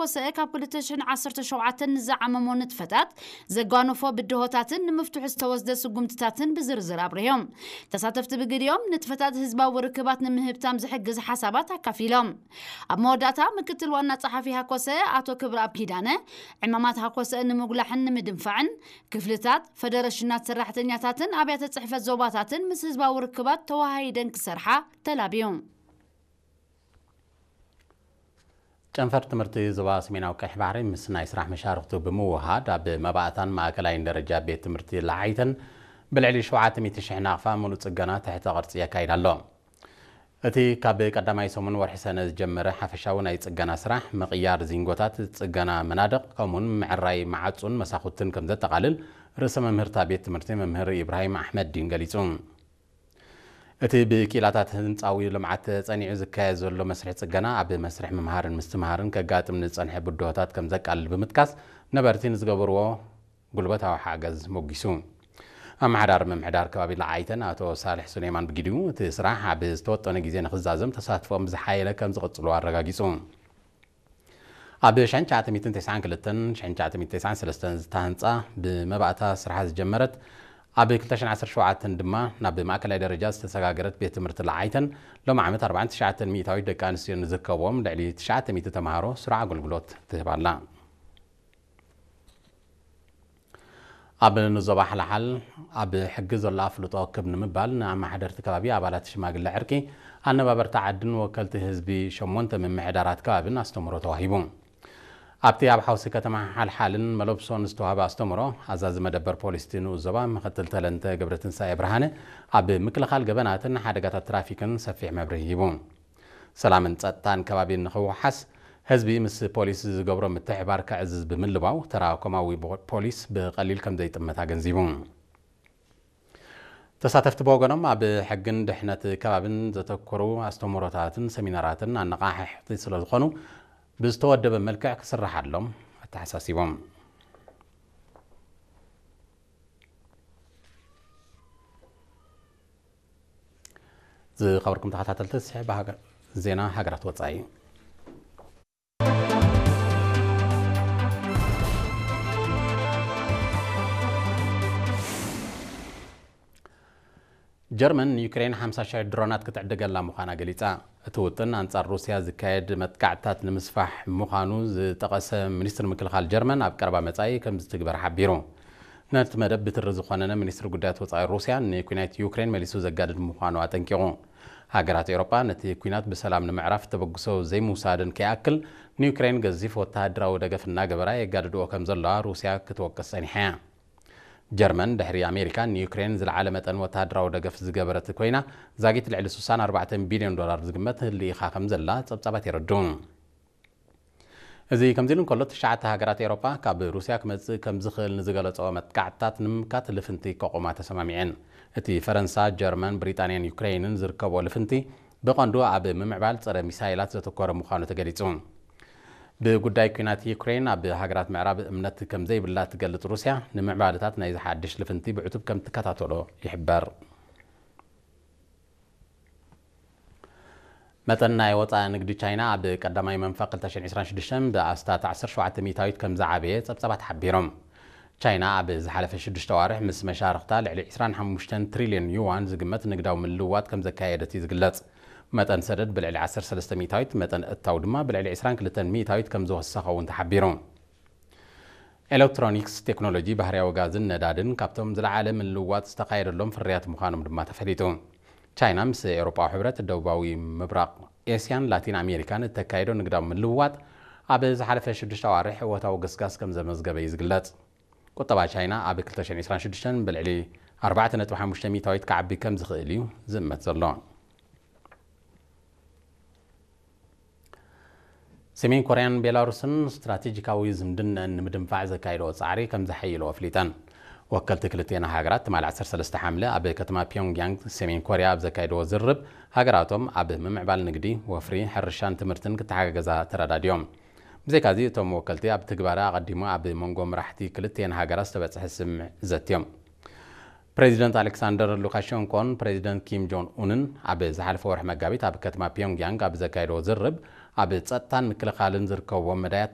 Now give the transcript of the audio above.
ኮሰአ ካብ ክልተ ሽሕን ዓሰርተ ሸውዓተን ንዝዓመሞ ንጥፈታት ዘጓነፎ ብድሆታትን ንምፍትሑ ዝተወስደ ስጉምትታትን ብዝርዝር ኣብሪሆም። ተሳተፍቲ ብግዲኦም ንጥፈታት ህዝባዊ ርክባት ንምህብታም ዝሕግዝ ሓሳባት ኣካፊሎም። ኣብ መወዳእታ ምክትል ዋና ጸሓፊ ሃኮሰ ኣቶ ክብረኣብ ኪዳነ ዕማማት ሃኮሰ ንምጉላሕን ንምድንፋዕን ክፍልታት፣ ፈደረሽናት ሰራሕተኛታትን ኣብያተ ጽሕፈት ዞባታትን ምስ ህዝባዊ ርክባት ተወሃሂደን ክሰርሓ ተላብዩ። ጨንፈር ትምህርቲ ዞባ ሰሜናዊ ቀይሕ ባሕሪ ምስ ናይ ስራሕ መሻርኽቱ ብምውሃድ ኣብ መባእታን ማእከላይን ደረጃ ቤት ትምህርቲ ለዓይተን ብልዕሊ ሸውዓተ ሚእቲ ሽሕ ናቕፋ ሙሉእ ጽገና ትሕተ ቅርጺ የካይድ ኣሎ። እቲ ካብ ቀዳማይ ሰሙን ወርሒ ሰነ ዝጀመረ ሓፈሻዊ ናይ ጽገና ስራሕ ምቕያር ዚንጎታት፣ ጽገና መናድቕ ከምኡውን ምዕራይ መዓጹን መሳኹትን ከም ዘጠቓልል ርእሰ መምህርታ ቤት ትምህርቲ መምህር ኢብራሂም ኣሕመድ ዲን ገሊጹ። እቲ ብኪኢላታት ህንጻዊ ልምዓት ጸኒዑ ዝካየድ ዘሎ መስርሕ ጽገና ኣብ መስርሕ ምምሃርን ምስትምሃርን ከጋጥም ዝጸንሐ ብድሆታት ከም ዘቃልል ብምጥቃስ ነበርቲ ንዝገበርዎ ጉልበታዊ ሓገዝ ሞጊሱ። ኣመሓዳሪ ምምሕዳር ከባቢ ለዓይተን ኣቶ ሳልሕ ሱሌማን ብግዲኡ እቲ ስራሕ ኣብ ዝተወጠነ ግዜ ንክዛዘም ተሳትፎም ብዝሓየለ ከም ዝቕጽሉ ኣረጋጊጹ። ኣብ ሽሕን ትሽዓተ ሚእትን ተስዓን ክልተን ሽሕን ትሽዓተ ሚእትን ተስዓን ሰለስተን ዝተሃንጻ ብመባእታ ስርሓ ዝጀመረት ኣብ ክልተ ሽሕን ዓሰርተ ሸውዓተን ድማ ናብ ማእከላይ ደረጃ ዝተሰጋገረት ቤት ትምህርቲ ለዓይተን ሎም ዓመት ኣርባዓን ትሽዓተን ሚእታዊት ደቂ ኣንስትዮ ንዝርከብዎም ልዕሊ ትሽዓተ ሚእቲ ተምሃሮ ስሩዕ ኣገልግሎት ትህብ ኣላ። ኣብ ንዞባ ሓልሓል ኣብ ሕጊ ዘሎ ኣፍልጦ ክብ ንምባል ንኣመሓደርቲ ከባቢ ኣባላት ሽማግለ ዕርቂ ኣነባበርቲ ዓድን ወከልቲ ህዝቢ ሸሞንተ ምምሕዳራት ከባብን ኣስተምህሮ ተዋሂቡ። ኣብቲ ኣብ ሓውሲ ከተማ ሓልሓልን መለብሶን ዝተዋህበ ኣስተምህሮ ኣዛዚ መደበር ፖሊስ እቲ ንኡስ ዞባ ምክትል ተለንተ ገብረትንሳኤ ብርሃነ ኣብ ምክልኻል ገበናትን ሓደጋታት ትራፊክን ሰፊሕ መብርሂ ሂቡ። ሰላምን ጸጥታን ከባቢ ንኽወሓስ ህዝቢ ምስ ፖሊስ ዝገብሮ ምትሕባር ከዕዝዝ ብምልባው ተራ ኮማዊ ፖሊስ ብቐሊል ከም ዘይጥመት ኣገንዚቡ። ተሳተፍቲ ብወገኖም ኣብ ሕግን ድሕነት ከባብን ዘተኮሩ ኣስተምህሮታትን ሰሚናራትን ኣነቓሕሕቲ ስለዝኾኑ ብዝተወደበ መልክዕ ክስርሓሎም ኣተሓሳሲቦም። ዝኸበርኩም ተኸታተልቲ ስሕብ ዜና ሃገራት ወጻኢ። ጀርመን ንዩክሬን ሓምሳ ሽሕ ድሮናት ክትዕድገላ ምዃና ገሊጻ። እቲ ውጥን ኣንጻር ሩስያ ዝካየድ መጥቃዕትታት ንምስፋሕ ምዃኑ ዝጠቐሰ ሚኒስትሪ ምክልኻል ጀርመን ኣብ ቀረባ መጻኢ ከም ዝትግበር ሓቢሩ። ነቲ መደብ ብትሪ ዝኾነነ ሚኒስትሪ ጉዳያት ወጻኢ ሩስያ ንኲናት ዩክሬን መሊሱ ዘጋድድ ምዃኑ ኣጠንቂቑ። ሃገራት ኤውሮጳ ነቲ ኲናት ብሰላም ንምዕራፍ ተበግሶ ዘይምውሳደን ከይኣክል ንዩክሬን ገዚፍ ወተሃደራዊ ደገፍ እናገበራ የጋድድኦ ከም ዘለዋ ሩስያ ክትወቅስ ጸኒሓ እያ። ጀርመን ድሕሪ ኣሜሪካ ንዩክሬን ዝለዓለ መጠን ወተሃደራዊ ደገፍ ዝገበረት ኮይና ዛጊት ልዕሊ ስሳን ኣርባዕተን ቢልዮን ዶላር ዝግመት ልኢኻ ከም ዘላ ጸብጻባት የረድኡ። እዚ ከምዚ ኢሉ እንከሎ ትሽዓተ ሃገራት ኤውሮጳ ካብ ሩስያ ክመጽእ ከም ዝኽእል ንዝገለጾ መጥቃዕትታት ንምምካት ልፍንቲ ከቑማ ተሰማሚዐን። እቲ ፈረንሳ፣ ጀርመን፣ ብሪጣንያን ዩክሬይንን ዝርከቦ ልፍንቲ ብቐንዱ ኣብ ምምዕባል ጸረ ሚሳይላት ዘተኮረ ምዃኑ ተገሊጹ። ብጉዳይ ኲናት ዩክሬን ኣብ ሃገራት ምዕራብ እምነት ከም ዘይብላ ትገልጽ ሩስያ ንምዕባለታት ናይዚ ሓድሽ ልፍንቲ ብዕቱብ ከም ትከታተሎ ይሕበር። መጠን ናይ ወፃኢ ንግዲ ቻይና ኣብ ቀዳማይ መንፈቕ ክልተ ሽሕን ዕስራን ሽዱሽተን ብኣስታት ዓሰርተ ሸውዓተ ሚእታዊት ከም ዝዓበየ ጸብጻባት ሓቢሮም። ቻይና ኣብ ዝሓለፈ ሽዱሽተ ኣዋርሕ ምስ መሻርኽታ ልዕሊ ዕስራን ሓሙሽተን ትሪልዮን ዩዋን ዝግመት ንግዳዊ ምልውዋጥ ከም ዘካየደት እዩ ዝግለጽ። መጠን ሰደድ ብልዕሊ ዓሰርተ ሰለስተ ሚእታዊት፣ መጠን እታው ድማ ብልዕሊ ዕስራን ክልተን ሚእታዊት ከም ዝወሰኸ እውን ተሓቢሩ። ኤሌክትሮኒክስ፣ ቴክኖሎጂ፣ ባህርያዊ ጋዝን ነዳድን ካብቶም ዝለዓለ ምልውዋጥ ዝተኻየደሎም ፍርያት ምዃኖም ድማ ተፈሊጡ። ቻይና ምስ ኤውሮጳዊ ሕብረት፣ ደቡባዊ ምብራቕ ኤስያን ላቲን ኣሜሪካን እተካየዶ ንግዳዊ ምልውዋጥ ኣብ ዝሓለፈ ሽዱሽተ ኣዋርሕ እወታዊ ገስጋስ ከም ዘመዝገበ እዩ ዝግለጽ። ቁጠባ ቻይና ኣብ ክልተ ሽሕን ዕስራን ሽዱሽተን ብልዕሊ ኣርባዕተ ነጥቢ ሓሙሽተ ሚእታዊት ክዓቢ ከም ዝኽእል እዩ ዝእመት ዘሎ። ሰሜን ኮርያን ቤላሩስን ስትራቴጂካዊ ዝምድነአን ንምድንፋዕ ዘካየድኦ ጻዕሪ ከም ዘሐይልኦ ኣፍሊጠን። ወከልቲ ክልቲኤን ሃገራት ትማሊ ዓሰርተ ሰለስተ ሓምለ ኣብ ከተማ ፒዮንግያንግ ሰሜን ኮርያ ኣብ ዘካየድዎ ዝርርብ፣ ሃገራቶም ኣብ ምምዕባል ንግዲ፣ ወፍሪ፣ ሕርሻን ትምህርትን ክተሓጋገዛ ተረዳዲኦም። ብዘይካዚ እቶም ወከልቲ ኣብ ትግባረ ኣቐዲሙ ኣብ መንጎ መራሕቲ ክልቲኤን ሃገራት ዝተበጽሐ ስምምዕ ዘትዮም። ፕሬዚደንት ኣሌክሳንደር ሉካሸንኮን ፕሬዚደንት ኪም ጆን ኡንን ኣብ ዝሓለፈ ወርሒ መጋቢት ኣብ ከተማ ፒዮንግያንግ ኣብ ዘካየድዎ ዝርርብ፣ ኣብ ጸጥታን ምክልኻልን ዝርከብዎም መዳያት